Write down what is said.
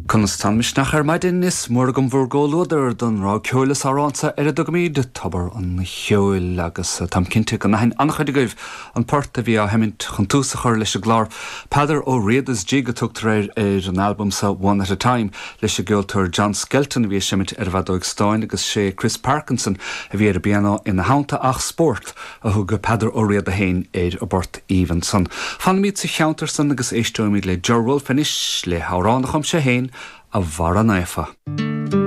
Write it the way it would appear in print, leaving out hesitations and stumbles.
Conas tá an misneach ar maidin? Is mór agam bhur gcomhluadar don rogha ceoil is amhrán seo ar a dtugaimid Tobar an Cheoil agus táim cinnte go n-aithin an-chuid agaibh an port a bhí á sheimint chun tús a chur leis an gclár. Peadar Ó Riada's Jig a tugtar air ar an albam seo One at a Time leis an gceoltóir John Skelton a bhí ag seimint ar an bhfeadóig stáin agus sé Chris Parkinson a bhí ar an bpianó ina theannta ach spórt a thug Peadar Ó Riada féin ar an bport aoibhinn san. Fanfaimid sa cheantar san agus éisteoimid le Ger Wolfe anois le hamhrán a chum sé féin, A Bharra Naofa.